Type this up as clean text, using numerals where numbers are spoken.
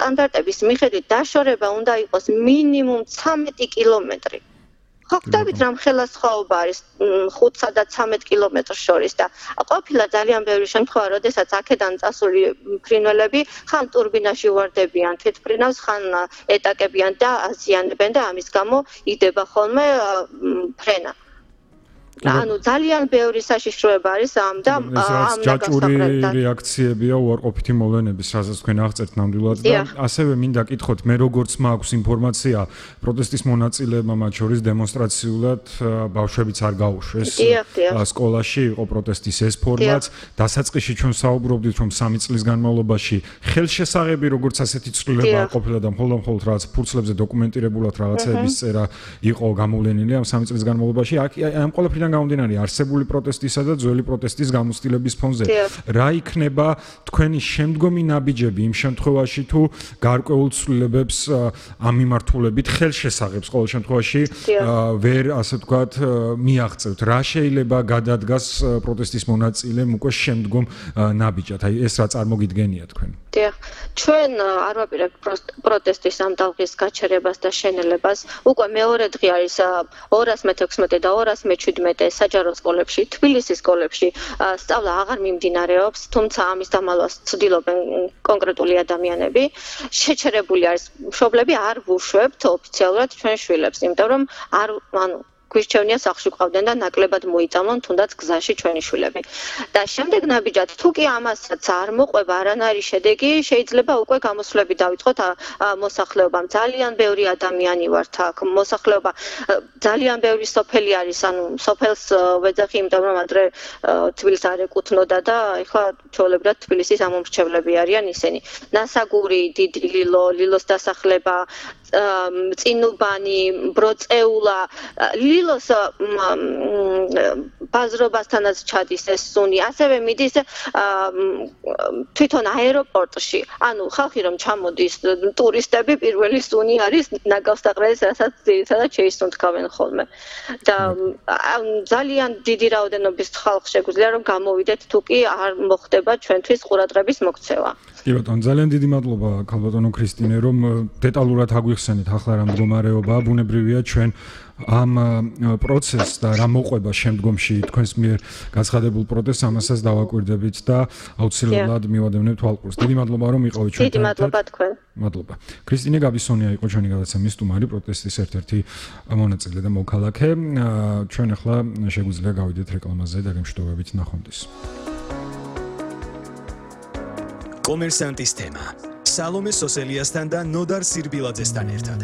სტანდარტების მიხედვით დაშორება უნდა იყოს მინიმუმ 13 კილომეტრი. ხო ხვდებით რამ ხელასხაობა არის 5-სა და 13 კილომეტრს შორის და ყოფილა ძალიან ბევრი შემთხვევა, როდესაც აქედან წასული ფრინველები ხან ტურბინაში უვარდებიან თვითმფრინავს, ხან ეტაკებიან და აზიანებენ და ამის გამო იდება ხოლმე ფრენა. ანუ ძალიან ბევრი საშიშროება არის ამ და ამ ჯაჭვური რეაქციებია უარყოფითი მოვლენების, რასაც თქვენ აღწერთ ნამდვილად და ასევე მინდა კითხოთ, მე როგორც მაქვს ინფორმაცია, პროტესტის მონაწილეებმა მათ შორის დემონსტრაციულად ბავშვებიც არ გაუშვეს სკოლაში, იყო პროტესტის ეს ფორმაც, დასაწყისში ჩვენ საუბრობდით, რომ 3 წლის განმავლობაში ხელშესაღები როგორც ასეთი ცვლილება არ ყოფილა და მხოლოდ რაღაც ფურცლებზე დოკუმენტირებულად რაღაცების წერა იყო გამოვლენილი ამ 3 წლის განმავლობაში. ამ ყველაფრიდან გამომდინარე არსებული პროტესტისა და ძველი პროტესტის გამოცდილების ფონზე რა იქნება თქვენი შემდგომი ნაბიჯები იმ შემთხვევაში თუ გარკვეულ ცვლილებებს ამ მიმართულებით ხელშესაღებს ყოველ შემთხვევაში ვერ ასე ვთქვათ მიაღწევთ რა შეიძლება გადადგას პროტესტის მონაწილემ უკვე შემდგომ ნაბიჯად აი ეს რა წარმოგიდგენია თქვენ ჩვენ არ ვაპირებთ პროტესტის ამ ტალღის გაჩერებას და შენელებას უკვე მეორე დღე არის 216 და 217 საჯარო სკოლებში, თბილისის სკოლებში სწავლა აღარ მიმდინარეობს, თუმცა ამის დამალვას ცდილობენ კონკრეტული ადამიანები. შეჩერებული არის მშობლები არ ვუშვებთ ოფიციალურად ჩვენ შვილებს, იმიტომ რომ გვირჩევნია სახლში ყავდნენ და ნაკლებად მოიწამლონ თუნდაც გზაში ჩვენი შვილები. და შემდეგ ნაბიჯად თუ კი ამასაც არ მოყვება არანაირი შედეგი, შეიძლება უკვე გამოსვლები დავიწყოთ მოსახლეობამ. ძალიან ბევრი ადამიანი ვართ აქ, მოსახლეობა ძალიან ბევრი სოფელი არის, ანუ სოფელს ვეძახი, იმიტომ რომ ადრე თბილისს არ ეკუთვნოდა და ეხლა ჩვეულებრივად თბილისის ამომრჩევლები არიან ისინი. ნასაგური, დიდი ლილო, ლილოს დასახლება, წინუბანი, ბროწეულა, ლილოს ბაზრობასთანაც ჩადის ეს სუნი, ასევე მიდის თვითონ აეროპორტში. ანუ ხალხი რომ ჩამოდის ტურისტები, პირველი სუნი არის ნაგავსაყრელის, რასაც ძირითადად შეისუნთქავენ ხოლმე. და ძალიან დიდი რაოდენობის ხალხი შეგვიძლია რომ გამოვიდეთ, თუ კი არ მოხდება ჩვენთვის ყურადღების მოქცევა. კი ბატონო, ძალიან დიდი მადლობა ქალბატონო ქრისტინე, რომ დეტალურად აგვიხსენეთ ახლა რა მდგომარეობაა, ბუნებრივია ჩვენ ამ პროცესს და რა მოყვება შემდგომში თქვენს მიერ გაცხადებულ პროტესტს ამასაც დავაკვირდებით და აუცილებლად მივადევნებთ თვალყურს. დიდი მადლობა რომ იყავით ჩვენთან. დიდი მადლობა თქვენ. მადლობა. ქრისტინე გაბისონია იყო ჩვენი გადაცემის სტუმარი, პროტესტის ერთ-ერთი მონაწილე და მოქალაქე. ჩვენ ახლა შეგვიძლია გავიდეთ რეკლამაზე და გემშვიდობებით ნახვამდის. კომერსანტის თემა. სალომე სოსელიასთან და ნოდარ სირბილაძესთან ერთად.